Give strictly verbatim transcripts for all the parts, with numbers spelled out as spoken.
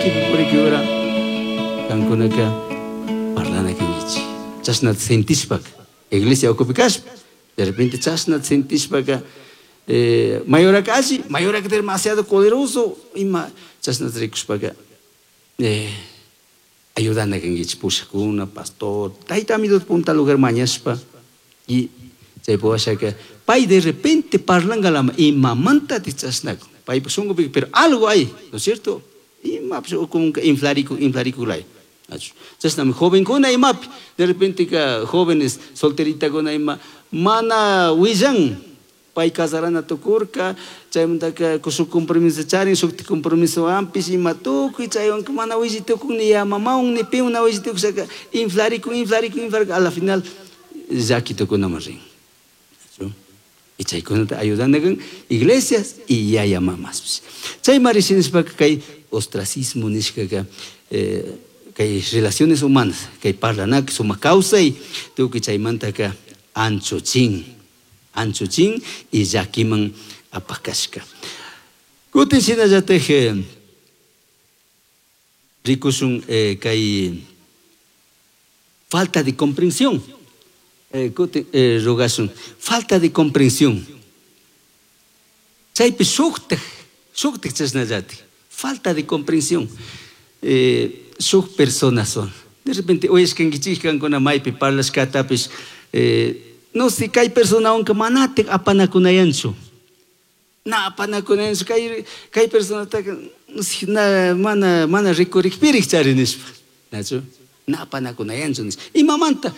Llakipi purikura kankunaka parlana kankichik. Chashna sentishpaka iglesia ukupi kashpa de repente chashna sentishpaka eh, mayoraka alli, mayoraka demasiado poderoso ima chashna rikushpaka eh, ayudana kankichik pushakuna, pastor, tayta amito punta lugar mañashpa y chaypi washaka pay de repente parlangalama imamanta chashnakun paypa shunkupi, pero algo hay, ¿no es cierto? Imapish como inflariku inflarikulay. Chashnami jovenkuna imapi de repente ka jóvenes solteritakuna ima mana willan pay casarana tukurka chaymantaka shuk compromiso charin shukti compromiso ampish ima tukuy chaywanka mana willi tukun ni ya mamawan ni piwan na willi tukushaka inflarikun inflarikun inflarikun a la final llaki tukunaman rin. Y chaykunata ayudanakan iglesias y yaya mamaspish. Chaymari shinashpaka kay ostracismo nishkaka eh, kay relaciones humanas kay parlanaka sumak kawsay tukuy chaymantaka anchuchin anchuchin y llakiman apakashka. Kutin shinallatik eh, rikushun eh, kay falta de comprensión. Eh, kutin eh, rogashun falta de comprensión. Chaypi shuktak shuktak chashnallatik falta de comprensión. Eh, shuk personas son. De repente uyashkankichik kankuna maypi parlashkatapish eh, no sé kay personawanka manatik apanakunayanchu. Na apanakunayanchu kay kay personataka no sé, na mana mana rikurikpirik chari nishpa. Nachu? Na apanakunayanchu nishpa. Imamanta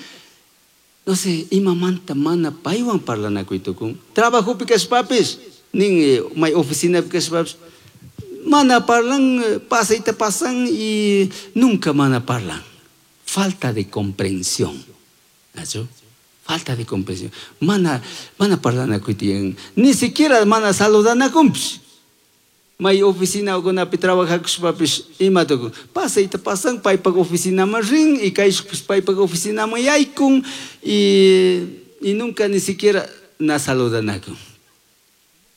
no sé, imamanta mana paywan parlanakuy tukun. Trabajopi kashpapish nin eh, may oficinapi kashpapish mana parlan, pasayta pasan y nunca mana parlan. Falta de comprensión. ¿Nacho? Falta de comprensión. Mana, mana parlanakuy tiyan. Ni siquiera mana saludanakunpish. May oficina ukunapi trabajakushpapish ima tukun. Pasayta pasan paypak oficinaman rin y kayshukpish paypak oficinaman yaykun y, y nunca ni siquiera na saludanakun.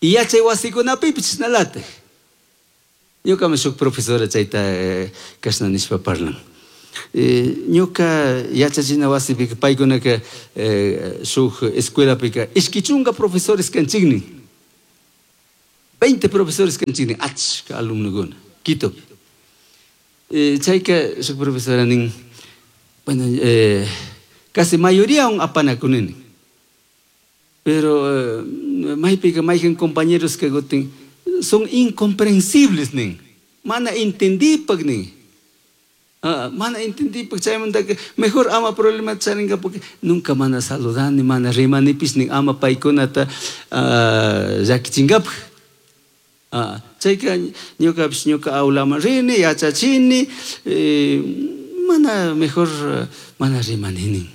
Y yachay wasikunapipish chashnalatak. Ñukami shuk profesora chayta eh, kashna nishpa parlan. Eh, ñuka yachachina wasipika paykunaka eh, shuk escuelapika ishki chunka profesores kanchiknin. veinte profesores kanchiknin achka alumnokuna Quitopi. Eh, chayka shuk profesora nin, bueno, eh, casi mayoría un apanakunini. Pero eh, maypika mayjan compañeros que gutin son incomprensibles nin. Mana entendipak nin. Ah, mana entendipak chaymantaka mejor ama problema charinka porque nunca mana saludani, mana rimanipis nin ama paykunata ah, llakichinkapaj. Ah, chayka ñukapish ñuka aulaman rini, yachachini, eh, mana mejor mana rimani nin.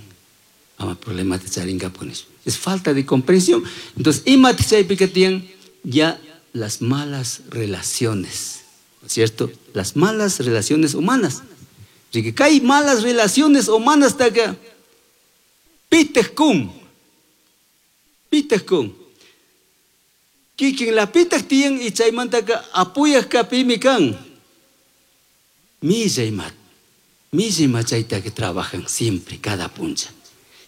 Ama problemata charinkapaj nishpa. Es falta de comprensión. Entonces, imata chaypika tiyan ya las malas relaciones, ¿no es cierto? Las malas relaciones humanas. Así que hay malas relaciones humanas taka pitaj kun. Pitaj kun. Kikin la pitaj tiyan y chaymantaka apuyaj kapimi kan. Millay mat. Millay machayta que trabajan siempre, cada puncha.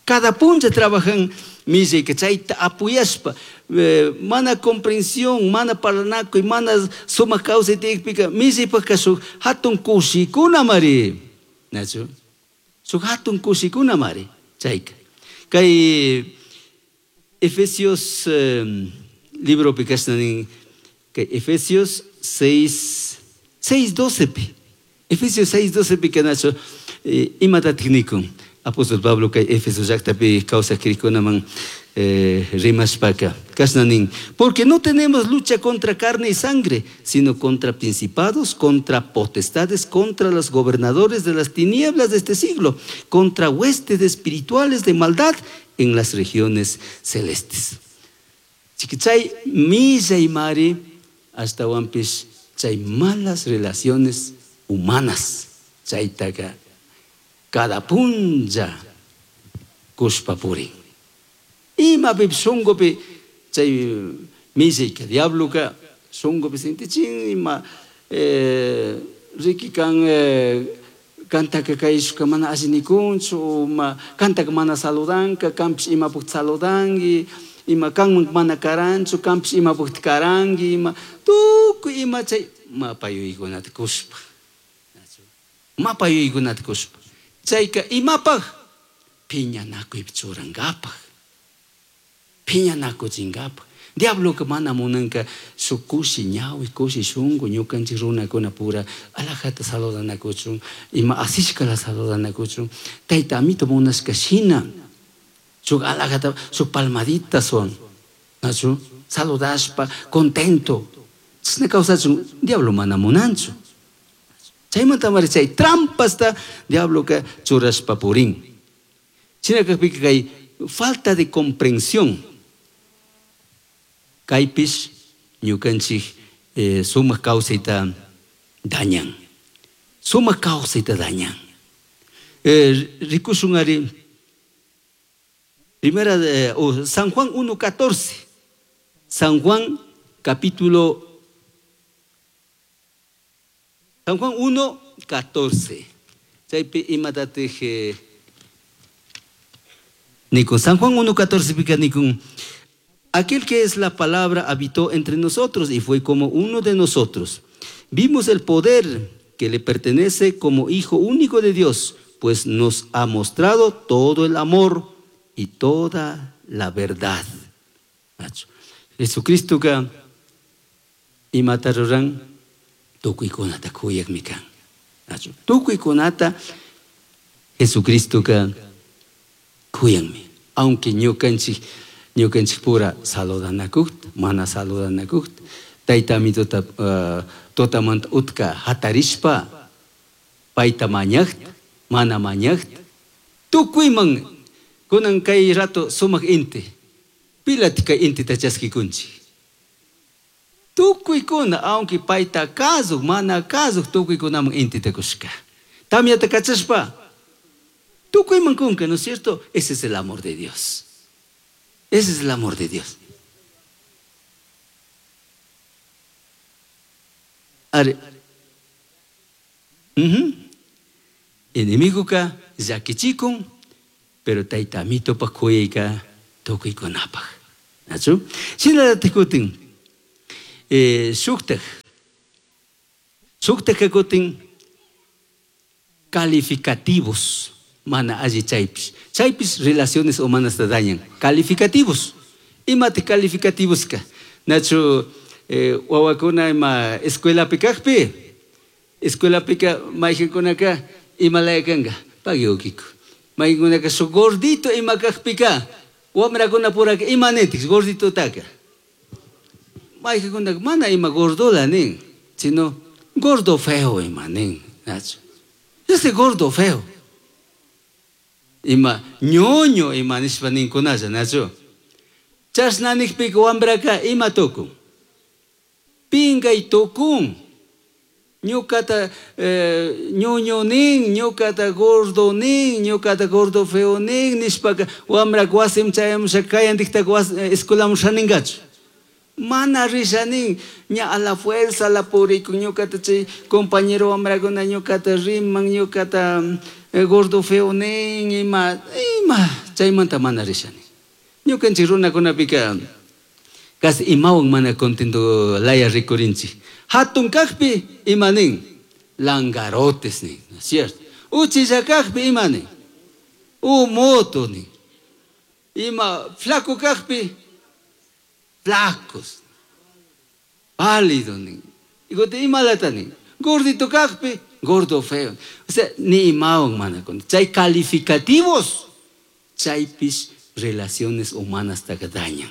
Cada puncha trabajan millay que chayta apuyashpa. Eh, mana comprensión, mana parlanakuy, mana sumak kawsay tiyakpika, millaypaka shuk hatun kushikuna mari. Nachu? Shuk hatun kushikuna mari. Chayka. Kay Efesios eh, libro kashna nin, kay Efesios seis, seis doce pi. Efesios seis doce pi kanacho, eh, imatatik nikun. Apóstol Pablo kay Efeso llaqtapi kawsaq krikunaman eh, rimashpaka. Kashna nin, porque no tenemos lucha contra carne y sangre, sino contra principados, contra potestades, contra los gobernadores de las tinieblas de este siglo, contra huestes espirituales de maldad en las regiones celestes. Chiquichay, milla y mari, hasta wampis, chay malas relaciones humanas. Chaytaka cada punlla kushpa purin. Imapi shunkupi chay millayka diabloka shunkupi sintichin ima, eh, Riki kan kantaka kayshka mana alli nikunchu, ma kantaka mana saludanka, kanpish imapukta saludanki, ima kanman mana karanchu, kanpish imapukta karanki, ima tukuy ima chay mapa yuyaykunata kushpa. Mapa yuyaykunata kushpa. Chayka imapaj piñanakuypi churankapaj, piñanakuchinkapaj. Diabloka mana munanka shuk kushi ñawi, kushi shunku ñukanchik runakuna pura alajata saludanakuchun, ima asishkala saludanakuchun, tayta amito munashka shina shuk alajata, shuk palmadita son, nachu saludashpa contento, chashna kawsachun diablo mana munanchu. Chaymanta mari chay trampasta diabloka churashpa purin. Shina kakpika kay falta de comprensión kaypish ñukanchik eh, sumak kawsayta dañan. Sumak kawsayta dañan. Eh, rikushun ari primera de, oh, San Juan uno catorce. San Juan capítulo San Juan uno catorce. Chaypi imatatij eh, nikun San Juan uno catorce pika nikun aquel que es la palabra habitó entre nosotros y fue como uno de nosotros. Vimos el poder que le pertenece como Hijo único de Dios, pues nos ha mostrado todo el amor y toda la verdad. Jesucristo ka imata ruran tukuykunata kuyakmi kan. Tukuykunata Jesucristo ka kuyanmi. Aunque ñukanchik ñukanchik pura saludanakukta, mana saludanakukta, tayta amituta uh, tutamanta utka hatarishpa payta mañakta, mana mañakta, tukuyman kunan kay rato sumak inti, pilati kay intita chaskikunchik. Tukuykuna, aunque payta kasuk, mana kasuk, tukuykunaman intita kushka. Tamyata kachashpa, tukuyman kunka, ¿no es cierto? Ese es el amor de Dios. Ese es el amor de Dios. Are. Uh-huh. Enemigoka llakichikun, pero tayta amitopak kuyayka tukuykunapaj. ¿Nachu? Shinallatik kutin, eh, shuktaj. Shuktaj kutin calificativos. Mana alli chaypish. Chaypish relaciones humanas te dañan. Calificativos. Imate calificativos ka. Nachu eh, wawakuna ima escuela pikakpi. Escuela pika mayqinkunaka imalaya kanka. Pagui ukiko. Mayqinkunaka su gordito ima kakpika. Wamrakuna puraka ima nintik gordito taka. Mayqinkunaka mana ima gordola nin. Sino gordo feo ima nin. Nachu. Ese gordo feo. Ima ñoño ima nishpa ninkunalla, nachu. Chashna nikpika wambraka ima tukun. Pingay tukun. Ñukata eh, ñoño nin, ñukata gordo nin, ñukata gordo feo nin, nishpaka wambraka wasim chayamusha kayantikta was, escuelamun shaninkachu. Mana risha nin, ña a la fuerza la purikun, ñukata chay compañero wambrakuna ñukata riman, ñukata gordo feo nin, ima, ima, chaymanta mana risha nin. Ñukanchik runakunapika casi imawan mana contento laya rikurinchik. Hatun kakpi ima nin, langarotes nin, ¿no es cierto? Uchilla kakpi ima nin, umoto nin. Ima flaco kakpi, flacos, pálido nin. Igote imalata nin, gordito kakpi, gordo feo. O sea, ni imawan mana con. Chay calificativos, chaypis relaciones humanas taka dañan.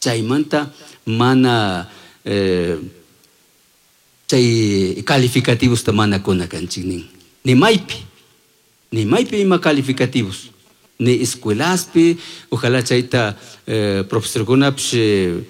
Chaymanta mana eh, chay calificativos ta mana kuna kanchik nin. Ni maypi, ni maypi ima calificativos. Ni escuelaspi, ojalá chayta eh, profesorkunapish eh,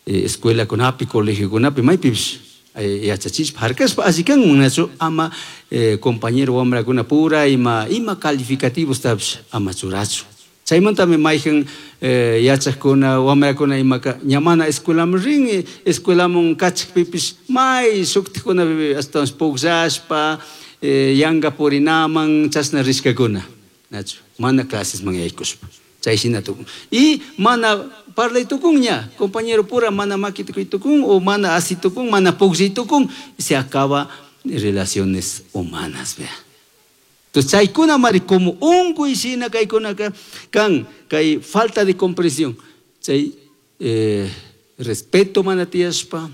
escuelakunapi, colegiokunapi, maypipish yachachishpa harkashpa alli kanman nachu ama eh, compañero wamrakuna pura ima ima calificativos tapish ama churachu. Chaymantami mayhan eh, yachaqkuna wamrakuna imaka ña mana escuelaman rin, escuelaman kachakpipish may shuktikkunapi ashtawan pukllashpa eh, yanka purinaman chashna rishkakuna. Nachu, mana clasesman yaykushpa. Chay shina tukun. Y mana parlay tukun ña, compañero pura mana maki tukuy tukun o mana asi tukun, mana pukllay tukun, se acaba relaciones humanas, vea. Entonces, chaykuna mari como unkuy shina kaykunaka kan kay falta de comprensión, chay eh, respeto mana tiyashpa,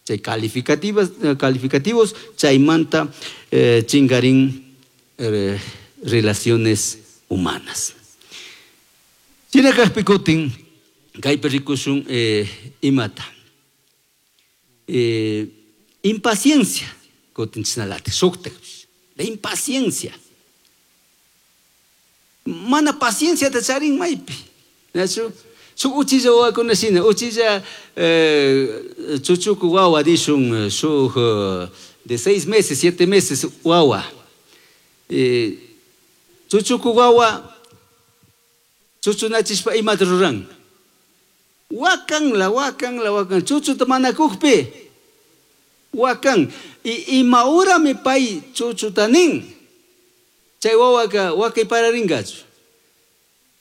chay calificativas, calificativos, chaymanta eh, chingarin eh, relaciones humanas. Shina kajpi kutin kaypi rikushun eh, imata. Eh, impaciencia, kutin chashnalatik, shuktak. La impaciencia. Mana paciencia ta charin maypi. Nachu? Shuk uchilla wawakuna shina, uchilla eh, chuchuku wawa dishun, shuk de seis meses, siete meses wawa. Eh, chuchuku wawa chuchunachishpa imata ruran. Wakan la, wakan la, wakan. Chuchuta mana kukpi. Wakan. Y ima urami pay chuchuta nin. Chay wawaka wakay pararingachu.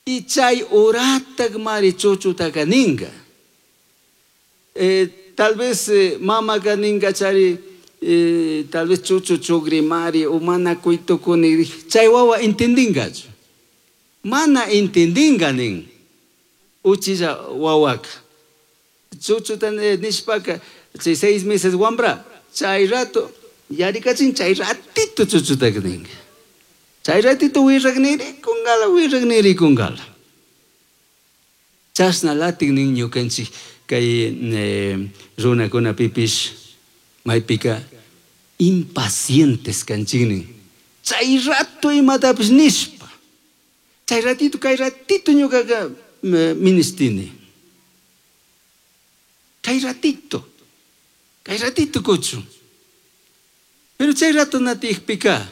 Y chay uratak mari chuchutaka ninga. Eh, tal vez eh, mamaka ninga chari, eh, tal vez chuchu chugri mari o mana kuitukuni. Chay wawa entendingachu. Mana entendinga nin. Uchilla wawaka. Chuchuta nishpaka, chay seis meses wambra. Chay rato, yarikachin chay ratito chuchutaka ninga. Chay ratito wirrak niri kungala, wirrak niri kungala. Chashna latik nin ñukanchik kay eh, runakunapipish maypika impacientes kanchik nin. Chay rato imatapish nishpa. Chay ratito kay ratito ñukaka ministini. Kay ratito. Kay ratito kuchun. Pero chay rato natijpika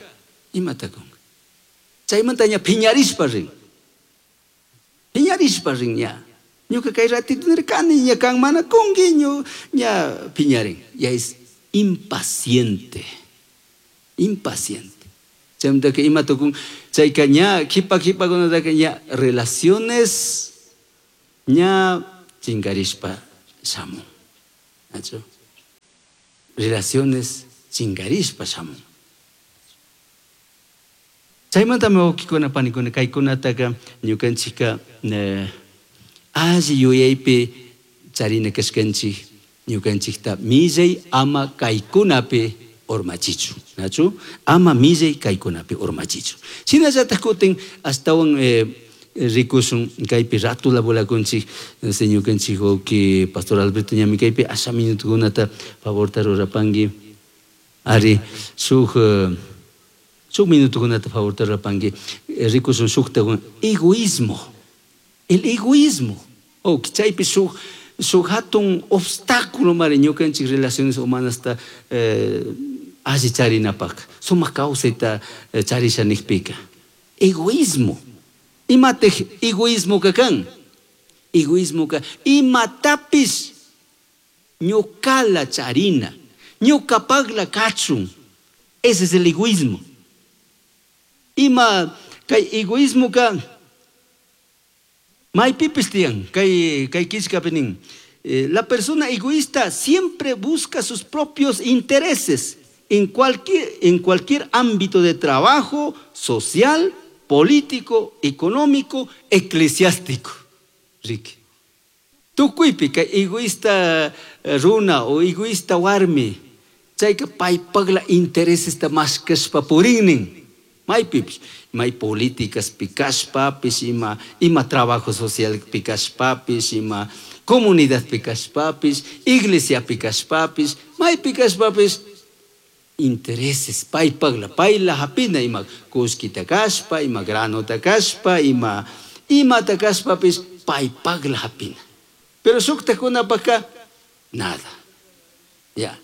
imata kunka. Chaymanta ña piñarishpa rin. Piñarishpa rin ña. Ñuka kay ratito nirkani ña kan mana kunki ñu ña piñarin. Ya es impaciente. Impaciente. Chaymantaka ima tukun chayka ña kipa kipakunataka ña relaciones ña chinkarishpa shamun. ¿Nachu? Relaciones chinkarishpa shamun. Chaymantami wawkikuna panikuna kaykunataka ñukanchikka eh, alli yuyaypi charina kashkanchik ñukanchikta millay ama kaykunapi urmachichu. Nachu? Ama millay kaykunapi urmachichu. Shinallatak kutin ashtawan eh, rikushun kaypi ratula volakunchik ñukanchik wawki Pastor Alberto ñami kaypi asha minutukunata favorta rurapanki. Ari shuk shuk minutukunata favorta rurapanki rikushun shukta egoísmo. El egoísmo. Oh, chaypi shuk shuk hatun obstáculo mari ñukanchik relaciones humanasta eh, alli charinapak. Sumak kawsayta eh, charisha nikpika. Egoísmo. Imatej egoísmo kan. Egoísmo ka imatapis ñukala charina, ñukapagla kachun. Ese es el egoísmo. Ima kay egoísmo ka maypipis tiyan kay kay killkapi nin. Eh, la persona egoísta siempre busca sus propios intereses en cualquier, en cualquier ámbito de trabajo, social, político, económico, eclesiástico. Ricky. Tukuypi kay egoísta runa o egoísta warmi, chayka paypaqla interesesta mashkashpa purinnin. Maypipish, may políticas pikashpapish, ima, ima trabajo social pikashpapish, ima comunidad pikashpapish, iglesia pikashpapish, may pikashpapish, intereses paypaqla, payla hapina ima kullkita kashpa, ima granota kashpa, ima imata kashpapish, paypaqla hapina. Pero shuktakunapaqka nada. Ya.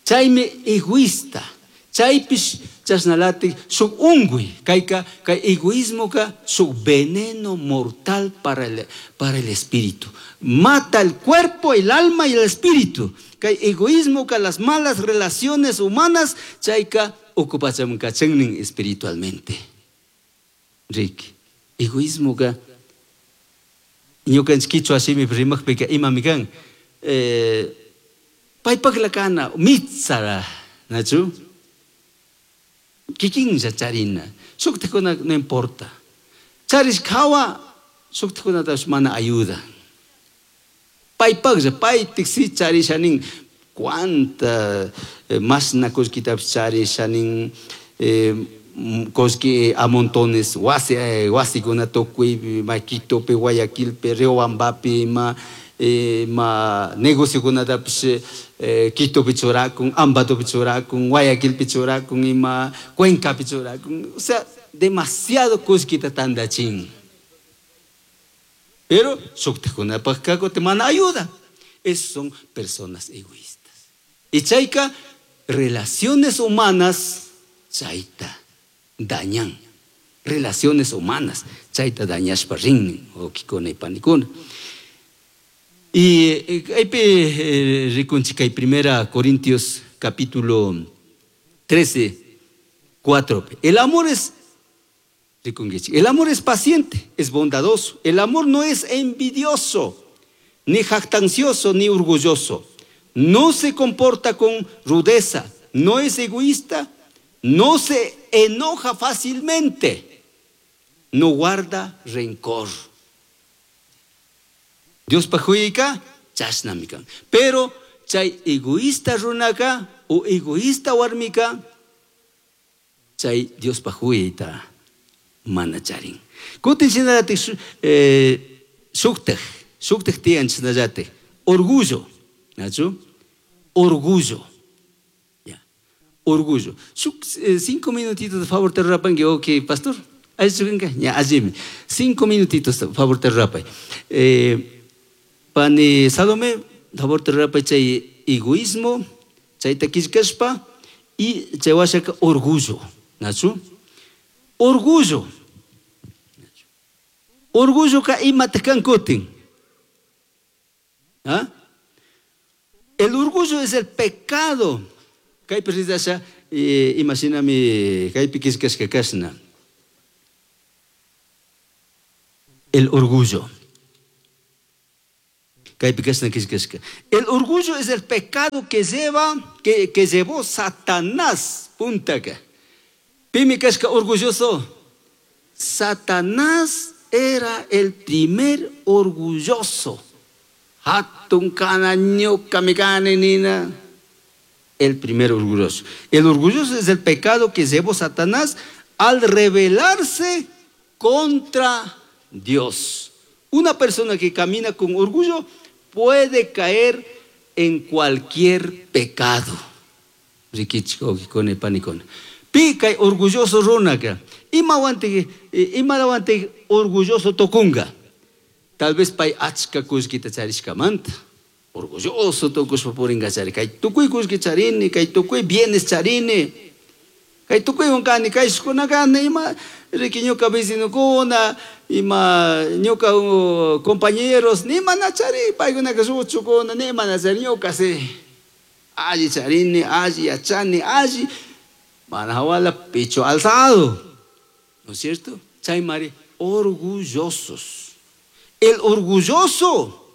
Chaymi egoísta. Chaypish chashnalatik shuk unkuy, kayka kay egoísmoka shuk veneno mortal para el, para el espíritu. Mata el cuerpo, el alma y el espíritu. Kay egoísmoka las malas relaciones humanas chayka ukupachamun kachannin espiritualmente. Ricky, egoísmoka ñukanchik kichwa shimipi rimakpika imami kan eh, paypakla kana mitsara, nachu? Kikinlla charina, shuktikuna no importa. Charishka hawa shuktikunatapish mana ayuda. Paypaklla, paytik si charisha nin, cuánta eh, mashna kullkitapish charisha nin, eh, kullki a montones, wasi, eh, wasikuna tukuy, ma Quitopi, Guayaquilpi, Riobambapi, ima, ima negociokunatapish eh, Quitopi churakun, Ambatopi churakun, Guayaquilpi churakun, ima Cuencapi churakun, o sea, demasiado kullkita tandachin. Pero shuktikunapakka kutin mana ayuda. Esas son personas egoístas. Y chayka, relaciones humanas, chayta dañan. Relaciones humanas, chayta dañashpa rinnin, wawkikuna y panikuna. Y kaypi eh, rikunchik kay Primera Corintios capítulo trece, cuatro. El amor es, rikunkichik, el amor es paciente, es bondadoso. El amor no es envidioso, ni jactancioso, ni orgulloso. No se comporta con rudeza, no es egoísta, no se enoja fácilmente, no guarda rencor. Dios pajuyka chashnami kan. Pero chay egoísta runaka o egoísta warmika chay Dios pajuyta mana charin. Kutin shinallatik eh, shuktaj, shuktaj tiyan shinallatik. Orgullo, ¿nachu? Orgullo. Ya. Orgullo. Shuk, eh, cinco minutitos de favor te rapan que ok, pastor. Ahí shukanka, ya, allí. Cinco minutitos de favor te rapay. Eh, pani Salome, favor te rapay chay egoísmo, chay taquishkashpa y chay washaka orgullo, ¿nachu? Orgullo. Orgullo ka ima te kan kutin. ¿Ah? El orgullo es el pecado. Kaypi ridasha, eh, imaginami kaypi kishkashka kashna. El orgullo. Kaypi kashna kishkashka. El orgullo es el pecado que lleva, que, que llevó Satanás. Puntaka. Pimi kashka orgulloso. Satanás era el primer orgulloso. Hatun kana ñuka mi kani nina. El primer orgulloso. El orgulloso es el pecado que llevó Satanás al rebelarse contra Dios. Una persona que camina con orgullo puede caer en cualquier pecado. Rikichiko, kikone, panikone. Pica orgulloso runaka. Ima wante, ima wante orgulloso tokunga. Tal vez pay achka kullkita charishkamanta. Orgulloso tokushpa puringa chari. Kay tukuy kullki charini, kay tukuy bienes charini. Kay tukuy hunkani, kay shukunakani, ima riki ñuka vecinokuna, ima ñuka, uh, compañeros, ni mana chari, paykunaka shuchukuna, ni mana chari, ñuka si. Alli charini, alli yachani, alli. Mana hawala pecho alzado. ¿No es cierto? Chaymari, orgullosos. El orgulloso,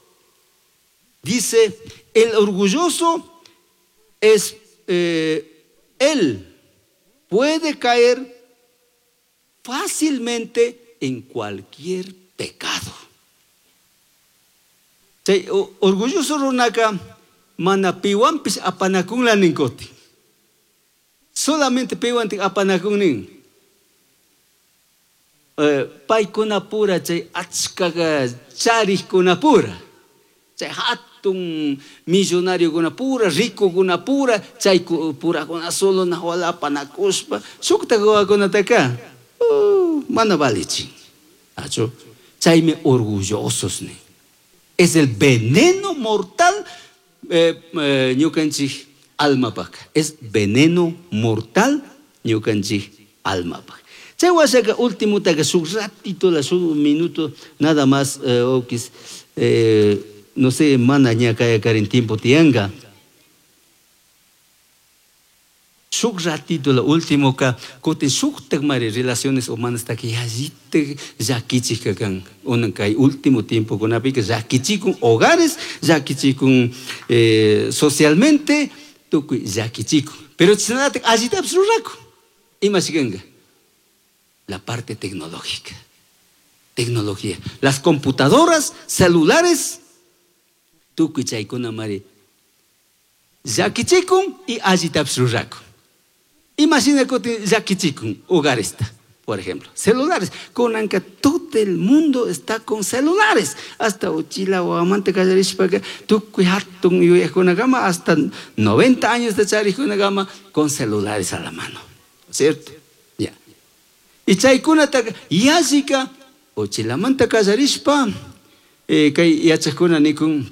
dice, el orgulloso es, eh, él puede caer fácilmente en cualquier pecado. Chay, o, orgulloso runaka, mana piwanpis apanakunla ninkoti. Solamente piwantik apanakun nin. Eh, paykuna pura, chay achkaga charikuna pura. Chay hatun millonario pura, rico kuna pura, chay pura kuna solo nahuala apanakushpa, shukta guakunataka, uh, mana valichin. Acho, chaymi orgullosos ni. Es el veneno mortal, eh, eh, ñukanchik Almapaj. Es veneno mortal ñukanchik almapaj. Chay washaqa ultimutaqa shuk ratito la shuk minuto nada más eh, okis eh, no sé mana ña kayakarin tiempo tiyanka. Shuk ratito la último ka kutin shuktak mari relaciones humanas taki yallitak llakichik kan unan kay último tiempo kunapika llakichikun hogares llakichikun eh, socialmente tukuy llakichikun pero chashnallatak allitapish rurakun imashi kanka la parte tecnológica. Tecnología. Las computadoras, celulares, tukuy chaykuna mari llakichikun y allitapish rurakun. Imagina kutin llakichikun hogaresta, por ejemplo. Celulares. Kunanka todo el mundo está con celulares. Hasta uchila wawamanta kallarishpaka tukuy hatun yuyajkunakama hasta noventa años de charijkunakama con celulares a la mano. ¿Cierto? Ya. Y chaykunataka yallika uchilamanta kallarishpa eh, kay yachajkuna nikun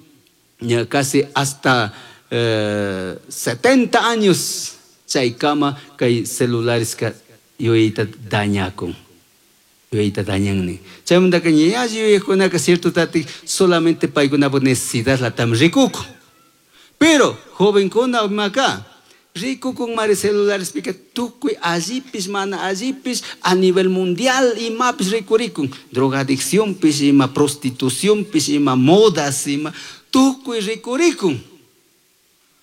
ya casi hasta eh, setenta años chaykama kay celulares ka yuyayta dañakun. Yuyayta dañanni. Chaymantaka ña yuyajkunaka cierto tati solamente paykunapuk necesidad latam rikukun. Pero jovenkuna imaka rikukun mari celulares pika tukuy allipis mana allipis a nivel mundial imapis rikurikun. Drogadicción pis ima prostitución pis ima modas ima tukuy rikurikun.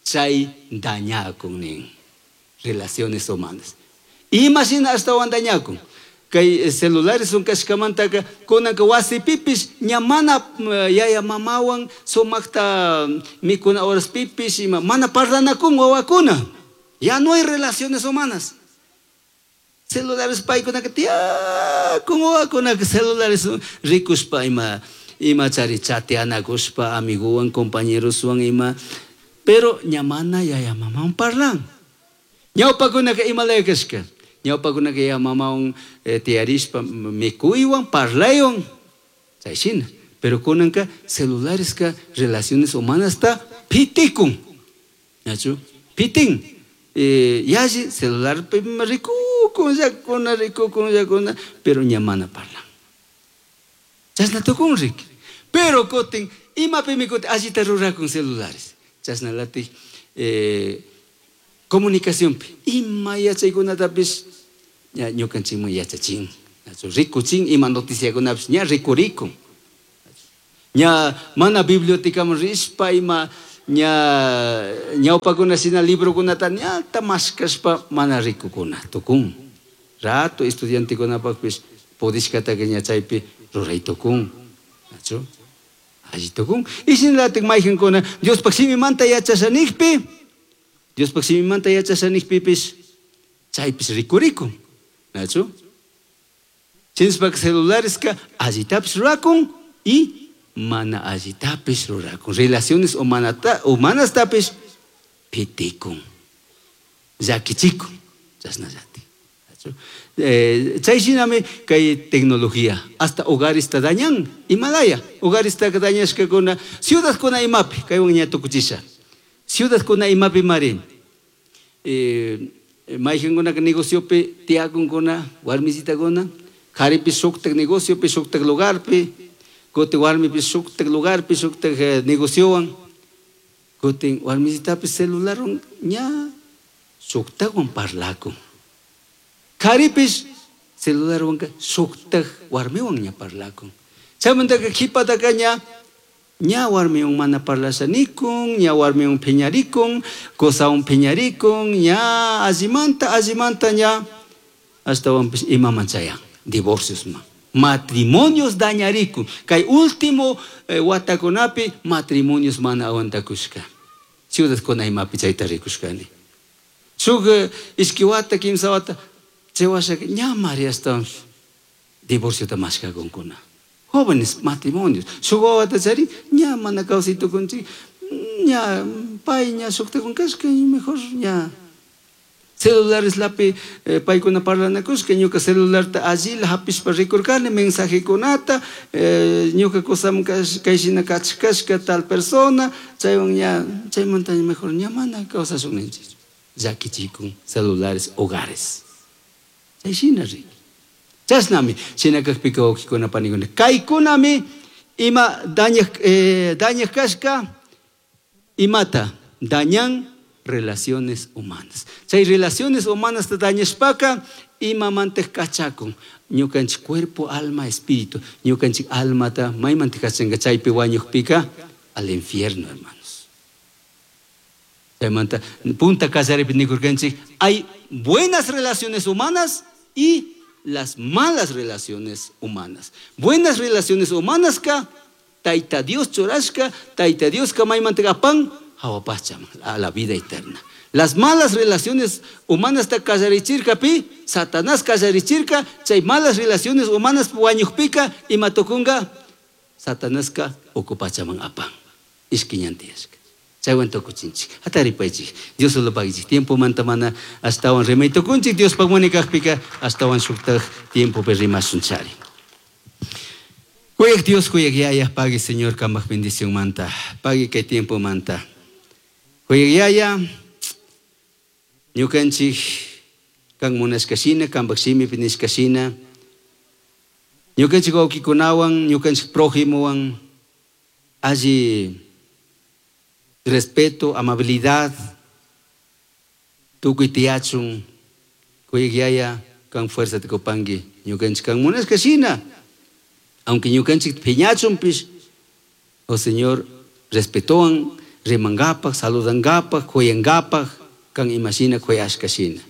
Chay dañakun nin relaciones humanas. Imagina ashtawan dañakun. Kay celulares son kashkamantaka kunanka wasipipis ña mana yaya mamawan sumakta mikuna horas pipis ima mana parlanakun wawakuna. Ya no hay relaciones humanas. Celulares paykunaka tiyakun wawakunaka celulares rikushpa ima ima chari chateanakushpa amiguwan compañeroswan ima pero ña mana yaya mamawan parlan. Ñawpakunaka imalaya kashka. Ñawpakunaka yaya mamawan eh, tiyarishpa mikuywan parlaywan chay shina. Pero kunanka celulareska relaciones humanasta pitikun. ¿Nachu? Pitin. Eh, yalli celular rikukun llakuna rikukun llakuna pero ña mana parlan. Chashna tukun riki. Pero kutin imapimi kutin allita rurakun celulares. Chashnalatik eh, comunicacionpi ima yachaykunatapish ña ñukanchikman yachachin. Rikuchin ima noticiakunapish ña rikurikun. Ña mana bibliotecaman rishpa ima ña ñawpakuna shina librokunata ñata mashkashpa mana rikukuna tukun. Rato estudiantekunapakpish pudishkataka ña chaypi ruray tukun. Nachu? Alli tukun. Y shinalatik mayjankuna Diospaq shimimanta yachashanikpi Diospaq shimimanta yachashanikpipish chaypish rikurikun. Nachu? Shinashpaka celulareska allitapish rurakun y mana allitapish rurakun. Relaciones humanata, humanastapish pitikun. Llakichikun. Chashnallati. Eh, chay shinami kay tecnología hasta hogaresta dañan Himalaya hogaresta dañashkakuna ciudadkuna imapi kaywan ña tukuchisha ciudadkuna imapi mari eh, mayjankunaka negociopi tiyakunkuna warmisitakuna karipi shuktak negociopi shuktak lugarpi kutin warmipi shuktak lugarpi shuktak eh, negociowan kutin warmisitapi celularwan ña shuktakwan parlakun. Karipish celularwanka shuktak warmiwan ña parlakun. Chaymantaka qhipataka ña ña warmiwan mana parlashanikun, ña warmiwan phiñarikun, qosawan phiñarikun, ña allimanta allimanta ña ashtawanpish imaman chayan, divorciosman. Matrimonios dañarikun. Kay último eh, watakunapi matrimonios mana aguantakushka. Ciudadkuna imapi chayta rikushkani. Shuk eh, ishki wata, kimsa wata chay washaka ña mari ashtawan divorciota mashkakunkuna. Jóvenes matrimonios. Shuk wawata charin ña mana kawsay tukunchik, ña pay ña shuktakun kashka y mejor ña. Celulares lapi eh, paykuna parlanakushka ñuka celularta allila hapishpa rikurkani mensajekunata eh, ñuka kusaman kayshina kachkashka tal persona chaywan ña chaymanta mejor ña mana kawsashun ninchik llakichikun celulares hogares. Chayshina riki. Chashnami shina kakpika wawqikuna panikuna kaykunami ima dañaj eh, dañaj kashka imata dañan relaciones humanas. Chay relaciones humanas ta dañashpaka imamantaj kachakun ñukanchik cuerpo, alma, espíritu. Ñukanchik almata maymanta kachanka chaypi wañukpika al infierno, hermanos. Chaymanta punta kallaripi nikurkanchik hay buenas relaciones humanas y las malas relaciones humanas. Buenas relaciones humanas ka Tayta Dios churashka, Tayta Dios ka maymanta apan jahua pachaman, a la vida eterna. Las malas relaciones humanas ta kallarichirka pi, Satanás kallarichirka, chay malas relaciones humanas wañukpika ima tukunga, Satanaska uku pachaman apan. Ishki ñan tiyashka. Chaywan tukuchinchik. Hataripaychik. Dios solo paguichik. Tiempo manta mana ashtawan rimay tukunchik. Dios munay kajpika ashtawan shuktaj tiempopi rimashun chari. Kuyaq Dios, kuyaq Yaya, pagui Señor kambaj bendición manta. Pagui kay tiempo manta. Kuyaq Yaya, ñukanchik kan munashka shina, kambaj shimipi nishka shina. Ñukanchik wawkikunawan, ñukanchik prójimowan, alli respeto, amabilidad, tukuy tiyachun, kuyaq Yaya, kan fuerza tikupanki, ñukanchik kan munashka shina. Aunque ñukanchik piñachunpish, oh Señor, respetowan, rimangapak, saludangapak, kuyangapak, kan imashina kuyashka shina.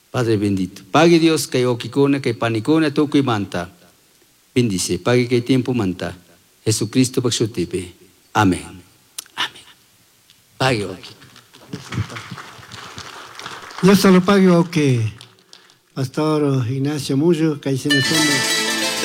Padre bendito, pague Dios kay wawkikuna, kay panikuna, tukuy manta. Bendice, pague kay tiempo manta. Jesucristo pak shutipi. Amén. Amén. Pague wawki. Dios te lo pague, wawki. Pastor Ignacio Mullo, kay somos.